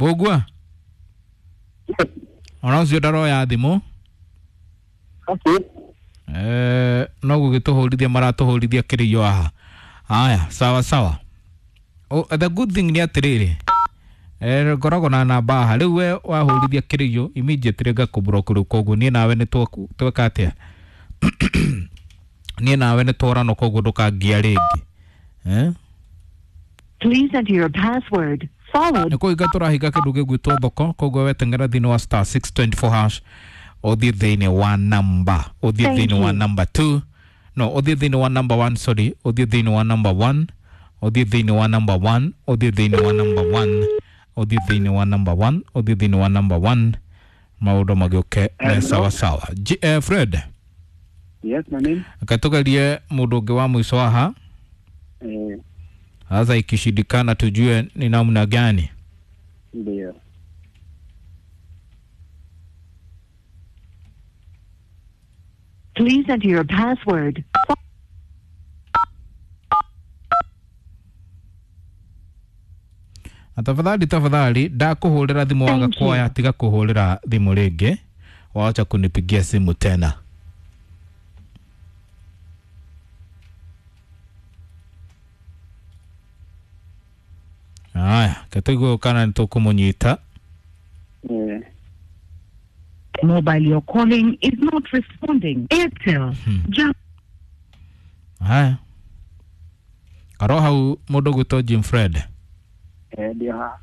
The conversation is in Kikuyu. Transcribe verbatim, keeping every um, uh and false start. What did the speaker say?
Mbũgua ona ũcio ndaroya thimũ. Okay. Eh, no gũgĩtũhũrithia maratũhũrithia kĩrĩio haha. Haya, sawa sawa. Oh, the good thing nĩ atĩrĩrĩ, eh, ngoragwo na namba haha rĩu we wahũrithia kĩrĩio immediately ngakũblock rĩu, koguo niĩ nawe nĩ tweka atĩa, niĩ nawe nĩ tworano, koguo ndũkangia rĩngĩ, eh? Please enter your password, followed Nĩ kũhinga tũrahinga kĩndũ gĩgwĩtwo thoko, koguo weteng'era thĩinĩ wa star six twenty four hash, ũthiĩ thĩinĩ wa namba, ũthiĩ Thank thĩinĩ wa you. number two, no, ũthiĩ thĩinĩ wa number one, sorry, ũthiĩ thĩinĩ wa number one, ũthiĩ thĩinĩ wa number one, ũthiĩ thĩinĩ wa number one, ũthiĩ thĩinĩ wa number one, ũthiĩ thĩinĩ wa number one, maũndũ magĩũke me Hello. sawa sawa. J eh, Fred. Yes, my name. Reke tũgerie mũndũ ũngĩ wa mũico haha. Eh, sasa ikishindikana tujue ni namna gani. Ndio. Please enter your password. Na tafadhali tafadhali, ndakũhũrĩra thimũ waga Thank you. kuoya, tiga kũhũrĩra thimũ rĩngĩ, wacha kunipigia simu tena. Aya, ketũigue kana nĩ tũkũmũnyita. Eh, Mobile you're calling is not responding. Airtel. Just Haya, karo hau mũndũ gwĩtwo Jim Fred. Eh, ndio ha.